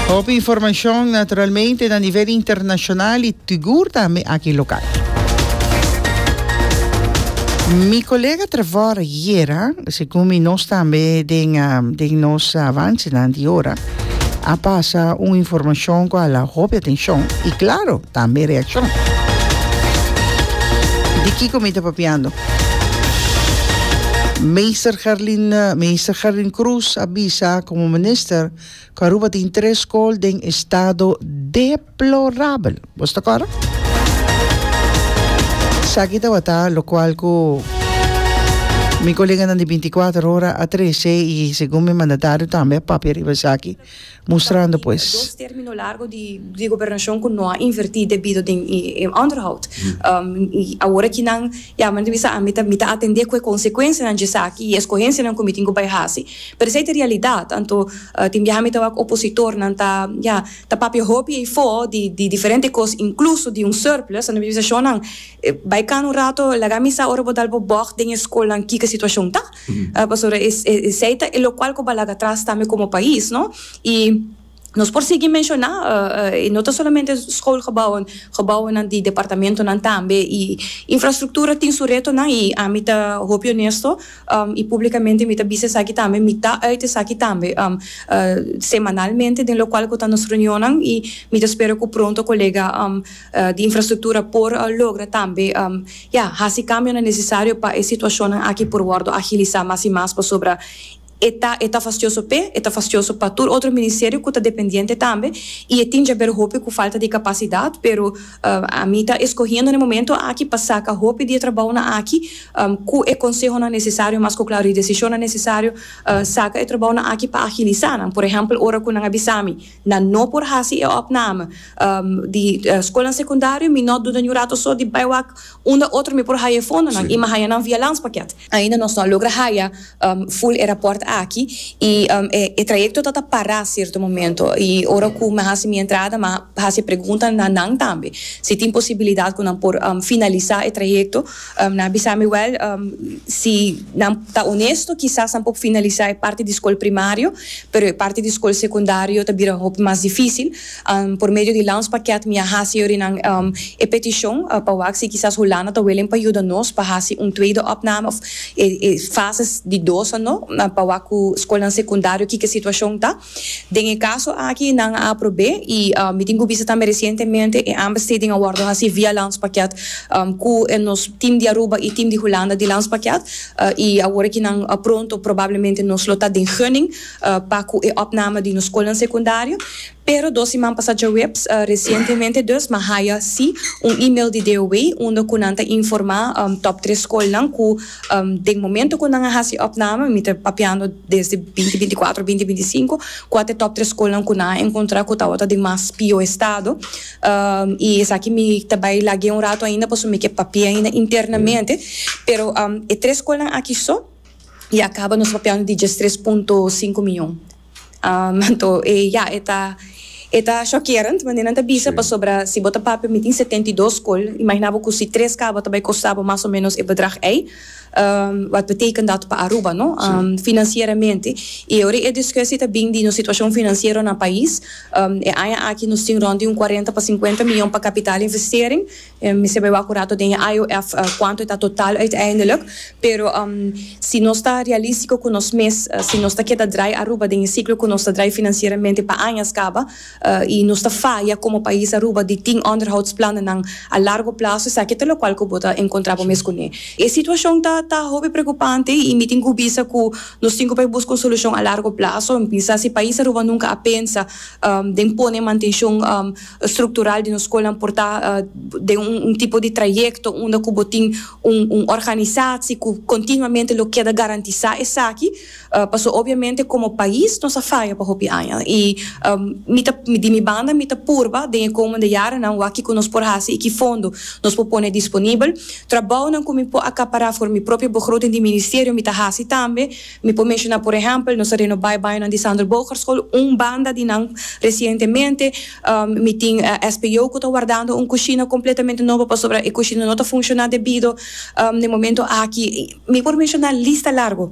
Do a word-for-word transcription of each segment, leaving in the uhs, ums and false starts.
Hopi informacion, naturalmente, na nivel internacional y sigur tambe aki local. Mi colega Trevor ayera, segun mi nos tambe den, um, den nos avance di ora, a pasa un informacion cu a hala hopi atencion y, claro, tambe reaccion. Di kico mi ta papiando? Meester Gerlin, Meester Gerlin Cruz a bisa como minister cu Aruba tin tres scol den estado deplorabel. Bo ta corda? Esaki tabata locual cu mi colega di binticuater Ora a trece y segun mi mandatario tambe a papia riba esaki, mustrando pues Dos termino largo di, di gobernacion cu no a inverti debido den in onderhoud. Um, y awor cu nan, ja, maar bisa ami ta mi ta atende cu e consecuencianan di esaki y escogencianan cu mi tin cu bay hasi. Pero esey ta realidad, anto uh, tin biaha mi ta wak opositornan ta, ja, ta papia hopi y fo di di diferente cos, incluso di un surplus, anto bisa nan bay cana un rato, laga mi sa ora bo dal bo bocht den scol ki situacion ta. Uh, pasobra esey ta locual cu bo a laga atras tambe como pais, no? Y nos por sigui menciona, uh, uh, no ta solamente schoolgebouwen, gebouwen di departamentonan tambe y infrastructura tin su retonan y ami ta hopi honesto um, y publicamente mi ta bisa esaki tambe, mi ta uit esaki tambe um, uh, semanalmente den locual cu ta nos reunionnan y mi ta spera cu pronto colega um, uh, di infrastructura por uh, logra tambe um, ja, hasi cambio necesario pa e situacion aki por wordo agilisa mas y mas, pasobra e ta e ta fastioso p'e, e ta fastioso pa tur otro ministerio cu ta dependiente tambe y tin di haber hopi cu falta di capacidad, pero uh, ami ta escogiendo na momento aki pa saca hopi di trabounan aki um, cu e consehonan necesario, mas cu claro, e decision necesario, uh, saca e trabounan aki pa agilisa. Por ehempel, ora cu nan a bisa mi nan no por hasi e opname um, di uh, scol secundario, mi no duda un rato so di bay wak unda otro mi por haya fondonan y mi a haya nan via landspakket. Ainda nos no a logra haya um, full e rapport aki y um, e, e trayecto ta para cierto momento y ora cu mi hasi mi entrada, m'a hasi pregunta na nan tambe si tin posibilidad cu nan por um, finalisa e trayecto. um, nan a bisa mi, wel, um, si nan ta honesto, kisas nan por finalisa e parti di scol primario, pero e parti di scol secundario ta bira hopi mas dificil. um, por medio di landspakket mi a hasi nan um, e peticion uh, pa wak si kisas Hulanda ta willing pa yuda nos pa hasi un tweede opname of e, e fases di dos, no, pa wak ku scol secundario ki e situacion ta. Den e caso aki nan a aproba y uh, mi tin cu bisa tambe recientemente e aanbesteding a wordo hasi via landspakket um, cu nos team di Aruba y team di Hulanda di landspakket uh, y awor cu nan uh, pronto probablemente nos lo ta den gunning uh, pa cu e opname di nos scol secundario. Pero dos siman pasa diahuebs, uh, recientemente dus, m'a haya si un e-mail di D O W unda cu nan ta informa um, top tres scolnan cu um, den momento cu nan a hasi opname, mi ta papiando desde binti binticuater, binti binticinco, cua ta top tres scolnan cu nan a encontra cu tabata den mas pio estado. Um, y esaki mi ta bay lag'e un rato ainda, paso mi kier papia ainda internamente, pero um, e tres scolnan aki so ya caba nos papiando di diestres punto cinco miyon. Um, anto, e, ja, e ta e ta shockerend, maar nan ta bisa pasobra si bo ta papia mi tin setenta y dos scol, imagina bo cu si tres caba tambe costa bo mas o menos e bedrag ei. Um, wat betekent dat pa Aruba, no? Um, financieramente. Y ora e discussie ta bin di nos situacion financiero na pais. Um, e aña aki nos tin rond di un cuarenta pa cincuenta miyon pa kapitaalinvestering. Um, mi ta bay acurado den I O F uh, cuanto ta totaal uiteindelijk. Pero um, si nos ta realistico cu nos mes, uh, si nos ta keda draai Aruba den ciclo cu nos ta draai financieramente pa aña caba, uh, y nos ta faya como pais Aruba di tin onderhoudsplannen a largo plazo, esaki ta locual cu bo ta encontra bo mes cu ne. E situacion ta ta hopi preocupante y mi tin cu bisa cu nos tin cu busca un solucion a largo plazo. Pensa si pais Aruba nunca a pensa um, den pone mantencion um, structural di nos scol por ta uh, den un, un tipo di trayecto unda cu bo tin un, un organisatie cu continuamente lo keda garantisa esaki, uh, paso obviamente como pais nos a faya pa hopi aña y um, mi ta, di mi banda mi ta purba den komende jarennan wak kico nos por hasi y ki fondo nos por pone disponibel. Trabounan cu mi por acapara for mi propio begroting di ministerio mi ta hasi tambe. Mi por menciona, por ehempel, nos a renoba baño di Sandro School, un banda di nan recientemente. um, mi tin uh, S P O cu ta wardando un cushina completamente nobo pasobra e cushina no ta funciona debido um, na momento aki. Mi por menciona lista largo.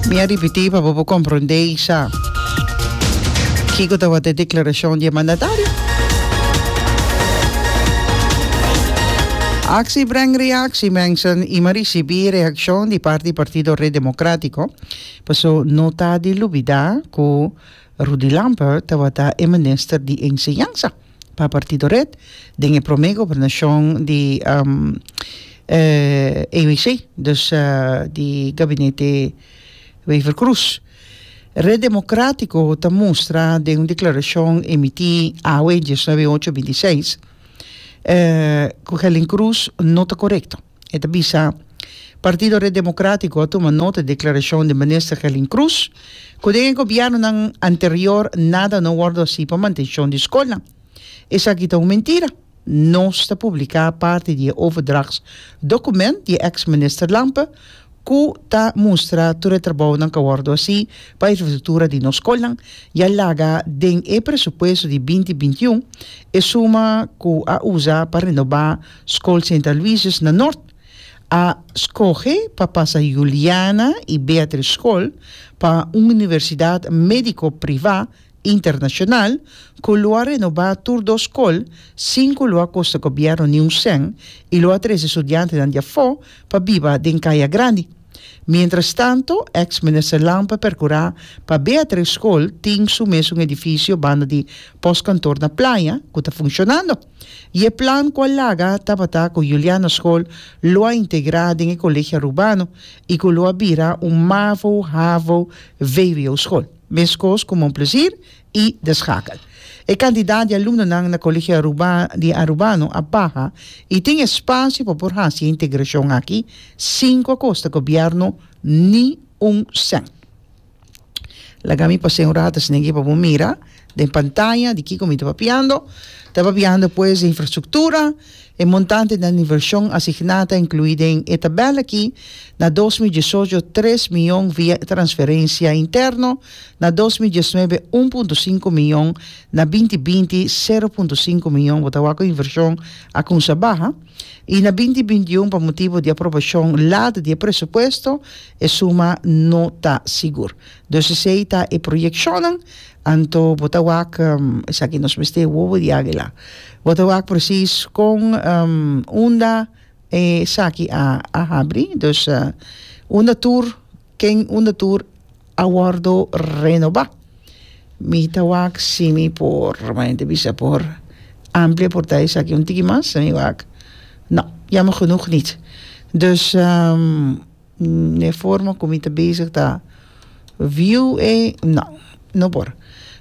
Mi a ripiti pa bo comprende, sa. Kiko tabata e deklarashon di e mandatario? Actie brengt reactie, mensen. I m'a risibí reakshon di parti Partido Red Democrático. Paso no ta di lubidá ku Rudy Lampe tabata e minister di Enseñansa pa Partido Red den e promé gobernashon di um, eh, E W C, dus uh, di gabinete Wever-Croes. Red Democrático ta mustra den un deklarashon emití awe diesnuebe ocho bintiseis eh, ku Helen Cruz no ta korekto. E ta bisa: Partido Red Democrático a tuma nota di deklarashon di minister Helen Cruz ku den gobièrnu anterior nada no a wòrdu hasí pa mantenshon di skol. Esaki ta un mentira. Nos ta publiká parti di overdrachtsdocument di ex-minister Lampe ku ta mustra tur e trabounan ku a wòrdu hasí pa infrastruktura di nos skol i a laga den e presupuesto di binti bintiun e suma ku a usa pa renobá skol Sint Aloysius na Noord. A skohe pa pasa Juliana i Beatrice School pa un universidat médiko privá internashonal ku lo a renobá tur dos skol sin ku lo a kosta gobièrnu ni un sèn i lo a trese studiantenan di afó pa biba den Kaya Grandi. Mientras tanto, ex-minister Lampe a perkurá pa Beatrice School tin su mesun edifisio banda di postkantoor na Playa, ku ta funshonando. I e plan ku a laga tabata ku Juliana School lo a integrá den Kolegio Arubano i ku lo a bira un MAVO, HAVO, V W O school. Meskos ku Mon Plaisir i De Schakel. E kantidat di alumnonan na Kolegio Aruba, di Arubano a baha i tin espasio pa por hasi integrashon aki, sin ku kosta gobièrnu ni un sèn. Laga mi pasa un ratu esaki pa mira den pantaya di kiko mi ta papiando. Ta papiando, pues, di infrastruktura e montante di invershon asigná ta inkluí den e tabèl aki: na dos mil diesocho tres mion via transferensia interno, na dos mil diesnuebe un punto sinku mion, na binti binti sero punto sinku mion. Bo ta wak ku invershon a kuminsá baha, i na binti bintiun, pa motibu di aprobashon lat di presupuesto, e suma no ta sigur. Dus esei ta e proyekshon. Anto bo ta wak um, esaki nos mester wowo di águila. Bo ta wak precies kon um, unda esaki a a habri, dus uh, unda tur ken unda tur a wòrdu renobá. Mi ta wak si mi por mente bisa por amplia por ta esaki un tiki mas, mi wak. No, jammer genoeg niet. Dus um, de forma ku mi ta bezig ta view e no, no por.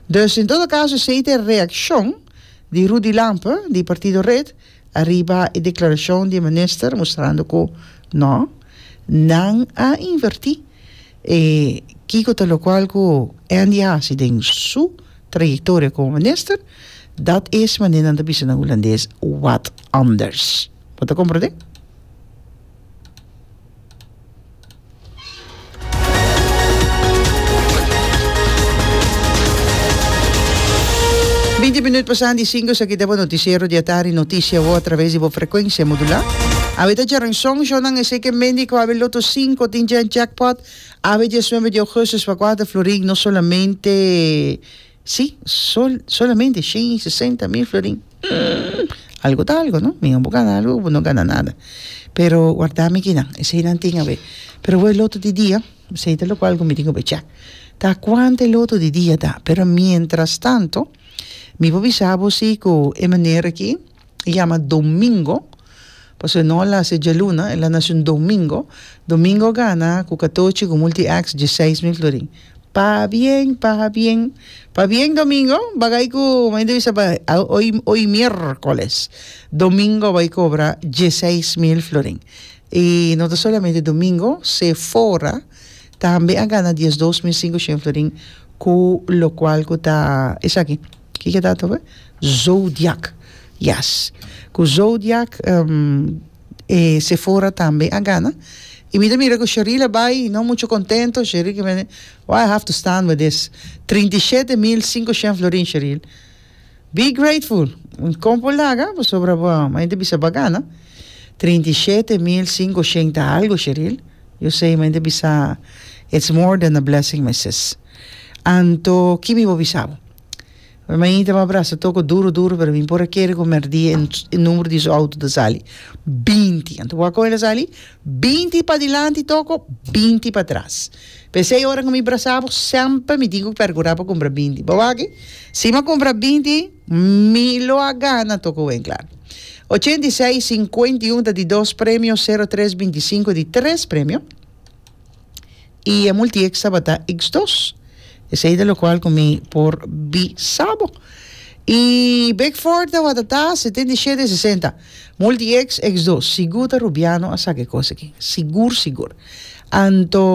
Dus en todo kaso, esei ta reakshon di Rudy Lampe, di Partido Red, ariba e deklarashon di minister, mustrando ku no, nan a invertí. E kiko ta lokual ku Andy a hasi den su trayektoria komo minister, dat is manera nan ta bisa na hulandes, wat anders. Bo ta komprondé? Binti minüt pasá di sinku, esaki ta notisiero di atardi, Notisia a traves di frekuensia modulá. Awe ta djárason, shonan, esei ke men ku awe Lotto sinku tin jackpot. Awe diesnuebe di ougùstùs pa kuater florin, no solamente, sí, sol, solamente shen sesenta mil florin. Mm, algu ta algu, no? Mi no gana algu, no gana nada. Pero warda mi ku nan, esei nan tin awe. Pero e Lotto di dia, esei ta lokual ku mi tin ku check. Ta kuantu Lotto di dia ta? Pero mientras tanto, mi por bisa bo si ku e manera aki yama Domingo, pasobra no el a nase djaluna, el a nase un domingo. Domingo a gana ku katochi ku Multi X diesseis mil florin. Pabien, pabien, pabien, Domingo, bagay ku, may bisa pa, hoy, hoy miércoles, Domingo a bai kobra diesseis mil florin. I no solamente Domingo, Sephora tambe a gana diesdos mil sinkushen florin ku lokual ku ta esaki. Kiko ta to? Zodiac. Yes. Ku Zodiac um, e Sephora tambe a gana. I mira, mira ku Cheryl a bai no muchu kontentu. Cheryl ku mi, why I have to stand with this? trinta i shete mil sinkushen florin, Cheryl. Be grateful. Un kompo laga, sobra bo, mas bisa b'a gana. trinta i shete mil sinkushen ta algu, Cheryl. You say, mas bisa, it's more than a blessing, my sis. Anto, ki mi por bisa bo? Mainta m'a brasa Toko duro duro, pero mi por a kere ku mèrdia e number di su outo ta sali. Binti. Anto wak kon el a sali? Binti padilanti Toko, binti patras. P'esei ora ku mi brasa bo, semper mi tin ku perkurá pa kumpra binti. Bo wak? Si mi a kumpra binti, mi lo a gana Toko Winklaar. Ochenta i seis, sinkuenta i un ta di dos premio, sero tres binti i sinku di tres premio. I e multi-X tabata X dos. Esei ta lokual ku mi por bisa bo. I Big Four tabata ta setenta i shete sesenta. Multi-X, X dos. Sigur ta Rubiano a saka e kos aki. Sigur sigur. Anto.